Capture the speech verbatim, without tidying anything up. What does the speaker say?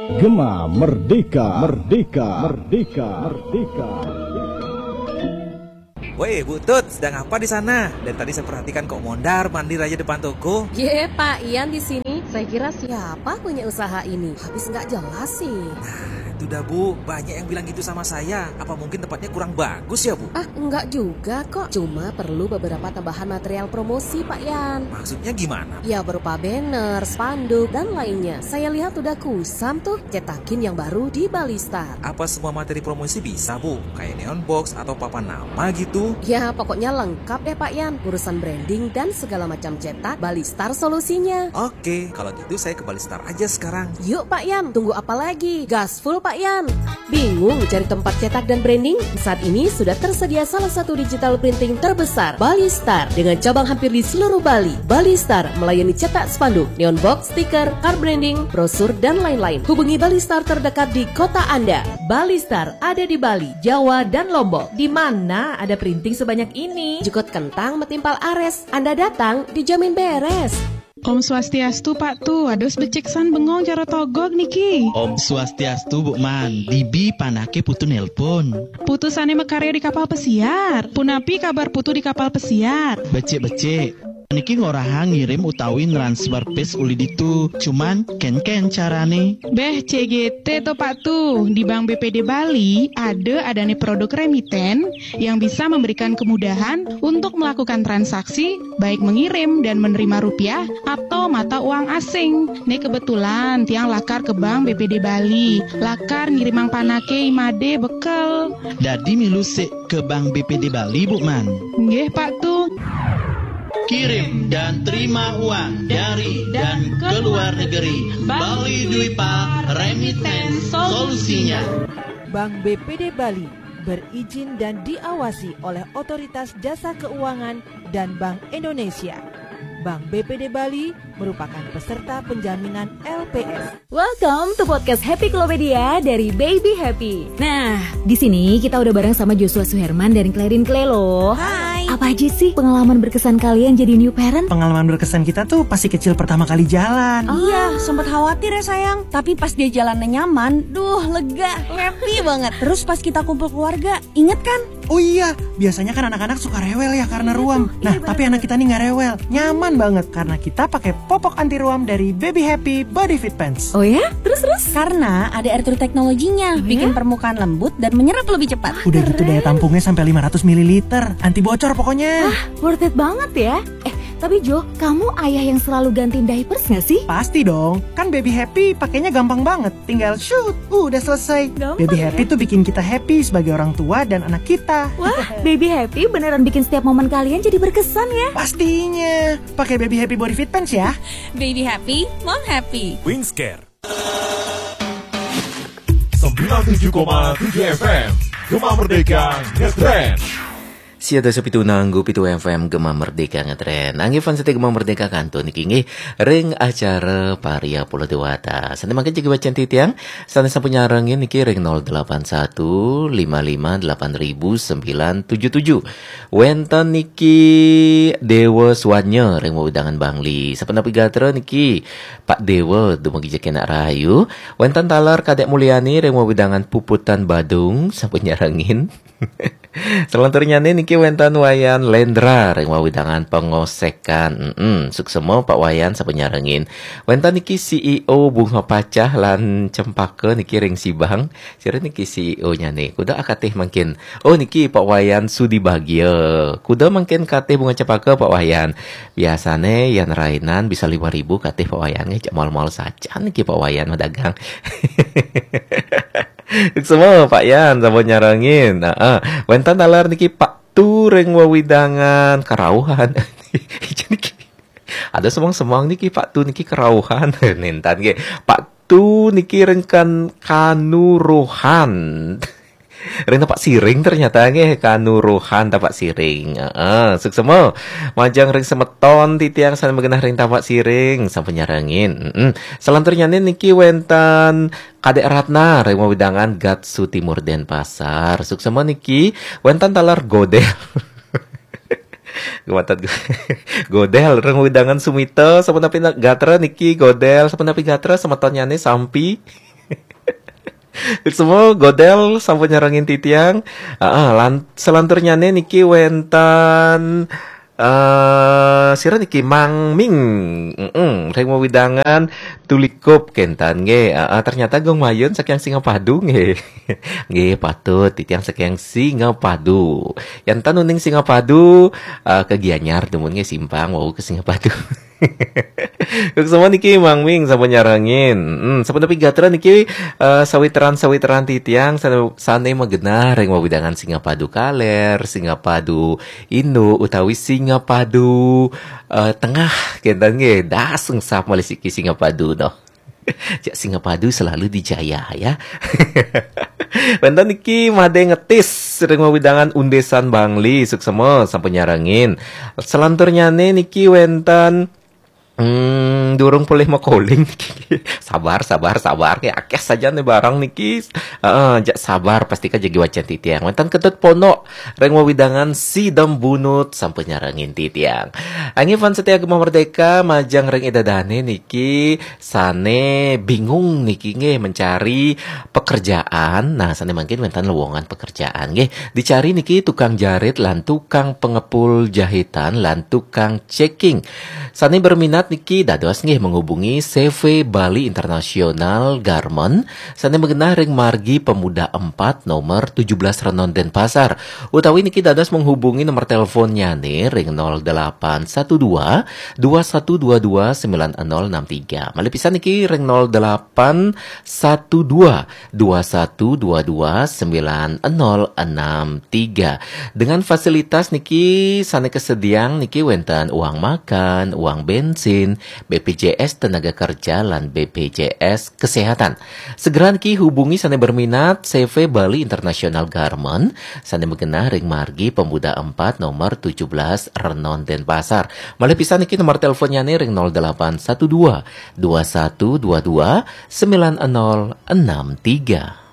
Gema Merdeka, Merdeka, Merdeka, Merdeka. Woi, Bu Tut, sedang apa di sana? Dari tadi saya perhatikan kok mondar mandir aja depan toko. Ye, Pak Ian di sini. Saya kira siapa punya usaha ini? Habis nggak jelas sih. Itu dah, Bu, banyak yang bilang gitu sama saya. Apa mungkin tempatnya kurang bagus ya, Bu? Ah, enggak juga kok. Cuma perlu beberapa tambahan material promosi, Pak Ian. Maksudnya gimana? Ya, berupa banner, spanduk, dan lainnya. Saya lihat udah kusam tuh. Cetakin yang baru di Balistar. Apa semua materi promosi bisa, Bu? Kayak neon box atau papan nama gitu? Ya, pokoknya lengkap deh, Pak Ian. Urusan branding dan segala macam cetak, Balistar solusinya. Oke, kalau gitu saya ke Balistar aja sekarang. Yuk, Pak Ian, tunggu apa lagi? Gas full, Pak Ian. Bingung cari tempat cetak dan branding? Saat ini sudah tersedia salah satu digital printing terbesar, Balistar, dengan cabang hampir di seluruh Bali. Balistar melayani cetak spanduk, neon box, stiker, card branding, brosur, dan lain-lain. Hubungi Balistar terdekat di kota Anda. Balistar ada di Bali, Jawa, dan Lombok. Di mana ada printing sebanyak ini? Jukut kentang metimpal ares. Anda datang, dijamin beres. Om Swastiastu, Pak Tu. Ados becik san bengong cara togog niki. Om Swastiastu, Bu Man. Dibi panake putu nelpon. Putu sane makarya di kapal pesiar. Punapi kabar putu di kapal pesiar? Becik-becik. Niki ngorahang ngirim utawi transfer pis uli ditu. Cuman ken-ken carane. Beh, C G T to, Pak Tu. Di Bank B P D Bali ada adane produk remiten yang bisa memberikan kemudahan untuk melakukan transaksi, baik mengirim dan menerima rupiah atau mata uang asing. Nih, kebetulan tiang lakar ke Bank B P D Bali, lakar ngirimang panake imade bekel. Dadi milu sik ke Bank B P D Bali, Bu Man. Nggih, Pak Tu. Kirim dan terima uang dari dan ke luar negeri. Bali Dwipa, Remittance solusinya. Bank B P D Bali berizin dan diawasi oleh Otoritas Jasa Keuangan dan Bank Indonesia. Bank B P D Bali merupakan peserta penjaminan L P S. Welcome to podcast Happy Klopedia dari Baby Happy. Nah, di sini kita udah bareng sama Joshua Suherman dan Clarin Clay loh. Hai. Apa aja sih pengalaman berkesan kalian jadi new parent? Pengalaman berkesan kita tuh pasti kecil pertama kali jalan. Iya, sempat khawatir ya, sayang. Tapi pas dia jalannya nyaman, duh, lega, happy banget. Terus pas kita kumpul keluarga, inget kan? Oh iya, biasanya kan anak-anak suka rewel ya karena ruam. Nah, tapi anak kita nih nggak rewel, nyaman banget karena kita pakai popok anti ruam dari Baby Happy Body Fit Pants. Oh ya? Terus, terus? Karena ada air true teknologinya, bikin permukaan lembut dan menyerap lebih cepat. Udah gitu, daya tampungnya sampai lima ratus mililiter, anti bocor pokoknya. Worth it banget ya. Eh, tapi Jo, kamu ayah yang selalu gantiin diapers nggak sih? Pasti dong, kan Baby Happy pakainya gampang banget. Tinggal shoot, udah selesai. Gampang Baby ya? Happy tuh bikin kita happy sebagai orang tua dan anak kita. Wah, Baby Happy beneran bikin setiap momen kalian jadi berkesan ya. Pastinya, pakai Baby Happy Body Fit Pants ya. Baby happy, mom happy. Wingscare. Sembilan tujuh koma tujuh F M, Gema Merdeka Ngetrend. Sia dasa pitu nanggu pitu F M Gema Merdeka Ngetrend. Nanggi fans setia Gema Merdeka kantun niki nggih ring acara Paria Pulau Dewata. Sane mangke jagi wacan titiang, sane sampun nyarengin niki ring nol delapan satu lima lima delapan ribu sembilan tujuh tujuh. Wenten niki Dewa Swanya ring wewidangan Bangli. Sapunapi gatra niki Pak Dewa dumugi jagi nak rahayu. Wenten taler Kadek Mulyani ring wewidangan Puputan Badung sampun nyarengin. Selanturnyane niki wenten Wayan Lendra ring wewidangan Pengosekan. Mm-mm, suksema Pak Wayan sampun nyarengin. Wenten niki C E O Bunga Pacah lan Cempaka niki ring Sibang. Sira niki C E O-nyane. Kuda akatih mangkin. Oh, niki Pak Wayan Sudi Bagia. Kuda mangkin katih Bunga Cempaka, Pak Wayan. Biasane yan rainan bisa lima ribu katih Pak Wayan nggih, cak mal-mal sajan niki Pak Wayan madagang. Semua Pak Yan sampun nyarengin. Heeh. Wenten taler niki Pak Tu ring wewidangan Kerauhan. Niki ada semang-semang niki Pak Tu niki Kerauhan. Nintan nggih. Pak Tu niki ring kan Kanuruhan. Ring Tapak Siring ternyata nggih, Kanuruhan Tapak Siring. Heeh, suksema. Majeng ring semeton titiang sane magenah ring Tapak Siring sampun nyarengin. Heeh. Selanturnyane niki wenten Kadek Ratna ring wewidangan Gatsu Timur Denpasar. Suksema niki wenten taler Godel. Gumatat gu-, Godel ring wewidangan Sumita, sapunapi na-, gatra niki Godel, sapunapi gatra semetonnyane sampi. Semua godel sampun nyarengin titiang. Heeh, lan selanturnyane niki wenten eh sira niki Mang Ming. Mm-mm, ring wewidangan Tulikup kenten nggih. Heeh, ternyata Gung Mayun saking Singapadu nggih. Nggih, patut titiang saking Singapadu. Yanten uning Singapadu eh, ke Gianyar dumun nggih simpang wau ke Singapadu. Suksma niki Mang Ming sampun nyarengin. Hmm, sampun nepi gatra niki eh, sawitran-sawitran titiang sane, sane magenah ring wewidangan Singapadu Kaler, Singapadu Indo utawi Singapadu eh, Tengah kenten nggih. Das engsap malih siki Singapadu noh. Cak Singapadu selalu dijaya ya. Wenten niki Made Ngetis ring wewidangan Undesan Bangli, suksma sampun nyarengin. Selanturnyane niki wenten Hmm, durung polih makoling niki. Sabar, sabar, sabar. Nggih, akeh saja nih barang niki. Heeh, jak sabar, pastika jagi wacen titiang. Wenten Ketut Pondok ring wewidangan Sidembunut sampun nyarengin titiang. Angin fan setia Gema Merdeka majeng ring idadane niki sane bingung niki nggih mencari pekerjaan. Nah, sane mangkin wenten lowongan pekerjaan nggih. Dicari niki tukang jarit lan tukang pengepul jahitan lan tukang checking. Sane berminat niki dados nggih menghubungi C V Bali International Garment sane magenah ring Margi Pemuda empat nomor tujuh belas Renon Denpasar. Utawi niki dados menghubungi nomor teleponnyane ring nol delapan satu dua dua satu dua dua sembilan nol enam tiga. Malih pisan niki ring nol delapan satu dua dua satu dua dua sembilan nol enam tiga. Dengan fasilitas niki sane kesediang niki wenten uang makan, uang bensin, B P J S tenaga kerja lan B P J S kesehatan. Segera niki hubungi sane berminat C V Bali International Garment sane magenah ring Margi Pemuda empat nomor tujuh belas Renon Denpasar. Malih pisan niki nomor teleponnyane ring nol delapan satu dua dua satu dua dua sembilan nol enam tiga.